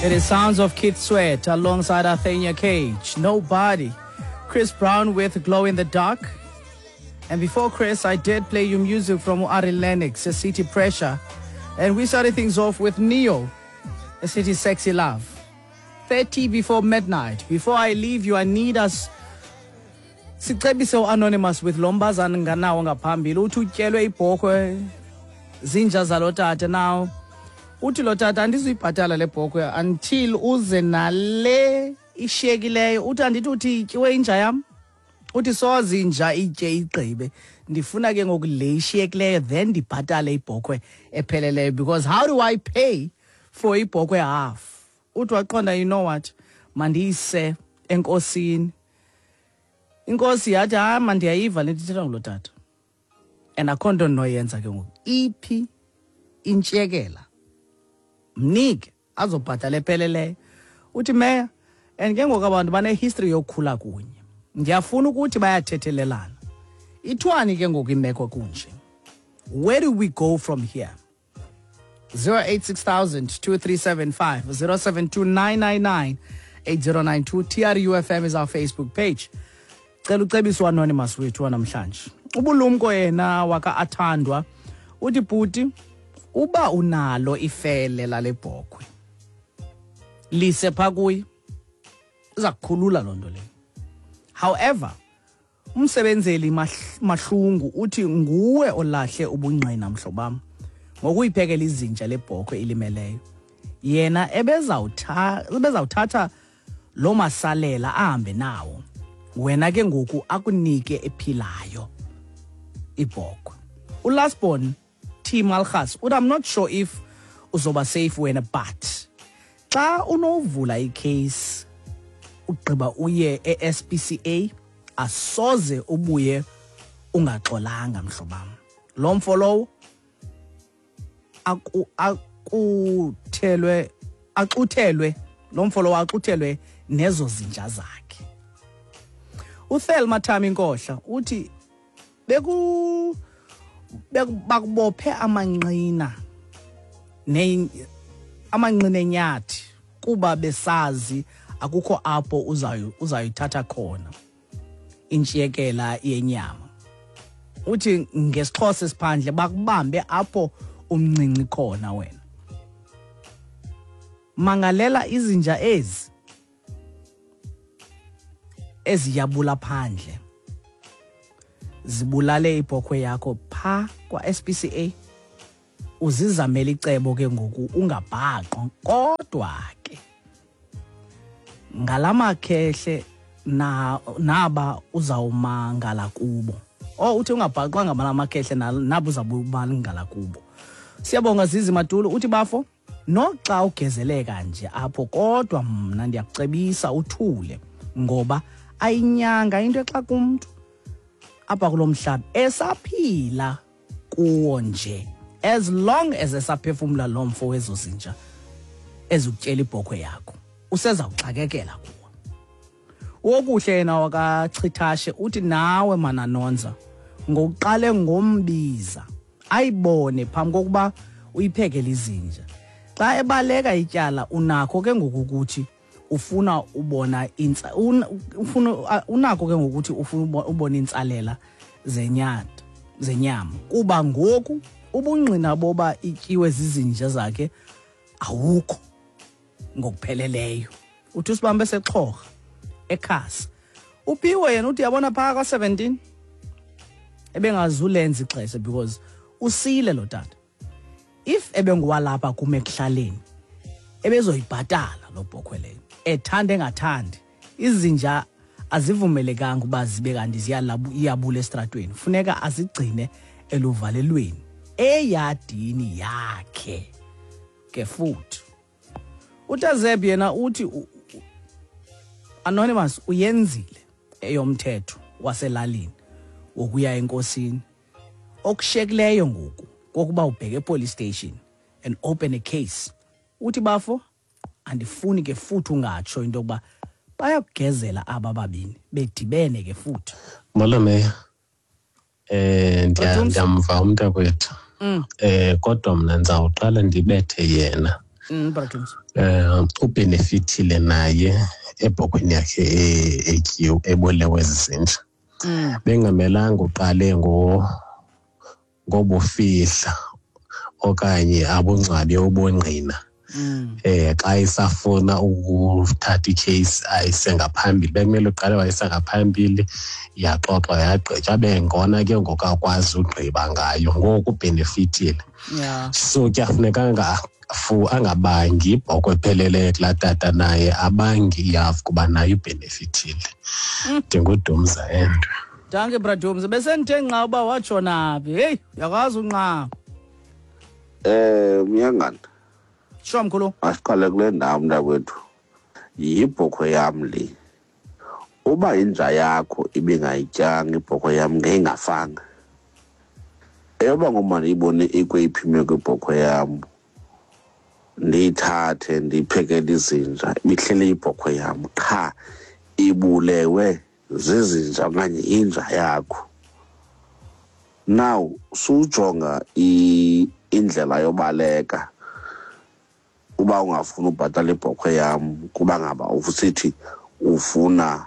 It is sounds of Keith Sweat alongside Athenia Cage, Nobody, Chris Brown with Glow in the Dark. And before Chris, I did play you music from Ari Lennox, A City Pressure. And we started things off with Neo, A City Sexy Love. 30 before midnight. Before I leave you, I need us sicebise uanonymous with lo mbazana nganawo ngaphambili uthi utyelwe ibhokhwe zinja zalo tata now uthi lo tata andizuyibhatala le bhokhwe until uze nale ishiyekileyo uthi andithi uthi ityiwe inja yam uthi soze inja itye igqibe ndifuna ke ngoku le ishiyekileyo then ndibhatale ibhokhwe epheleleyo because how do I pay for ibhokhwe half uthi waqonda you know what mandiyise enkosini inkosi yathi hayi mandiyayiva le nto ithethwa ngulo tata and akho nto ndinoyenza ke ngoku iphi intshiyekela mnike azobhatala epheleleyo uthi meya and ke ngoku abantu banehistory yokukhula kunye ndiyafuna ukuthi bayathethelelana ithwani ke ngoku imeko kunje where do we go from here 086 2375 072 8092 TRUFM is our Facebook page cela ucebiswa anonymous wethu wanamhlanje ubulumko yena waka-athandwa uthi bhuti uba unalo ifele lale bhokhwe lise phaa kuye iza kukhulula loo nto leyo however umsebenzeli mahlungu uthi nguwe olahle ubungqina mhlobam ngokuyiphekela izinja lebhokhwe ilimeleyo yena ebezawuthatha loo masalela ahambe nawo wena ke ngoku akunike ephilayo ibhokhwe ulasbon T Malchus uthi I'm not sure if uzoba safe wena but xa unovula icase ugqiba uye e-SPCA asoze ubuye ungaxolanga mhlobam lo mfo lowo akuthelwe axuthelwe lo mfo lowo axuthelwe nezo zinja zakhe uThelma Thami Nkohla uthi beku bakubophe amanqina ne amanqina enyathi kuba besazi akukho apho uzayithatha khona intshiyekela yenyama uthi ngesixhosa esiphandle bakubambe apho umncinci khona wena mangalela izinja ezi eziyabula phandle zibulale ibhokhwe yakho pha kwa-SPCA uzizamele icebo ke ngoku ungabhaqwa kodwa ke ngalamakhehle na naba uzawumangala kubo oh uthi ungabhaqwanga ngalamakhehle naba uzawumangala kubo siyabonga zizi madulu uthi bafo Noxa ugezeleka nje apho kodwa mna ndiyakucebisa uthule ngoba ayinyanga into exa kumntu apha kulo mhlaba esaphila kuwo nje as long as esaphefumla lo mfo wezo zinja ezikutyela ibhokhwe yakho usezawuxakekela kuwo Wokuhle yena wakachithashe uthi nawe mananonza ngokuqale ngombiza ayibone phambi kokuba uyiphekele izinja. Xa ebaleka ityala unakho ke ngoku ukuthi ufuna ubona intsa ufuna unakho ke ngokuthi ufuna ubona intsalela zenyata zenyama kuba ngoku ubungqina boba ityiwe zizinja zakhe awukho. Ngokupheleleyo uthi usibambe sexhorha ekhasa upiwe yena uthi yabona phaa kwa-17 ebengazulenza ixesha because usile lo tata if ebenguwalapha kum ekuhlaleni ebezoyibhatala lo bhokhwe leyo ethanda engathandi izinja azivumelekanga uba zibe kanti ziyabula esitratweni funeka azigcine eluvalelweni eyadini yakhe ke futhi utazeb yena uthi anonymous uyenzile eyomthetho waselalini wokuya enkosini okushekileyo ngoku kokuba ubheke epolice station and open a case uthi bafo andifuni ke futhi ungatsho into yokuba bayakugezela aba babini bedibene ke futhi. Molo meya. Eh ndiyamva umntakwethu. Kodwa mna ndizawuqala ndibethe yena. Bra Dums. Ubenefitile naye ebhokhweni yakhe etyiwe, ebulewe zizinja. Bengamelanga uqale ngobufihla okanye abungcwabe ubungqina. Xa isafuna ukuthatha icase ayise ngaphambili, bekumele uqale wayisa ngaphambili, yaxoxwa, yagqitywa, bengona ke ngoku akwazi ugqiba ngayo. Ngoku ubenefitile. So kuyafuneka angabangi ibhokhwe epheleleyo kulaa tata, naye abangi ihafu kuba naye ubenefitile. NdinguDumza Endwe. Dankie, Bra Dums. Besendithe nqa uba watshona phi. Heyi, uyakwazi unqa. Myangana. Sure, mkhulu. Asiqale kule ndawo, mntakwethu. Yibhokhwe yam le. Uba inja yakho ibingayityanga ibhokhwe yam, ngeyingafanga. Eyoba ngoma ndiyibone ikweyiphi imeko ibhokhwe yam, ndiyithathe ndiyiphekele izinja, ibihleli ibhokhwe yam qha ibulewe zizinja okanye inja yakho. Now sujonga indlela yobaleka uba ungafuni ubhatala ibhokhwe yam, kuba ngaba usithi ufuna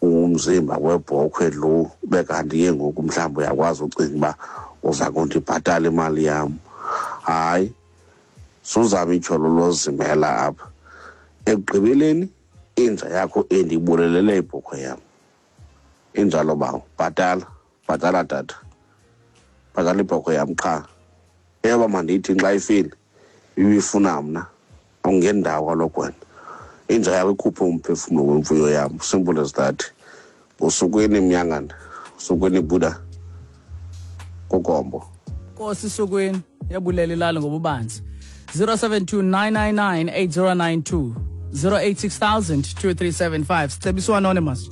umzimba webhokhwe lo, ube kanti ke ngoku mhlawumbi uyakwazi ucinga uba uza kundibhatala imali yam. Hayi, suzama ityholo lozimela apha. Ekugqibeleni inja yakho endiyibulelele ibhokhwe yam. Injalo bawo, bhatala, bhatala tata, bhatala ibhokhwe yam qha. Eyoba mandiyithi xa ifile ibifuna mna, awungendawo kaloku wena. Inja yakho ikhuphe umphefumlo wemfuyo yam, simple as that. Usukwini Mnyangana, usukwini Buddha, kukombo. Nkosi Sukwini, yabulela ilali ngobubanzi. 072 999 8092, 086 000 2375. Sicebiswa anonymous.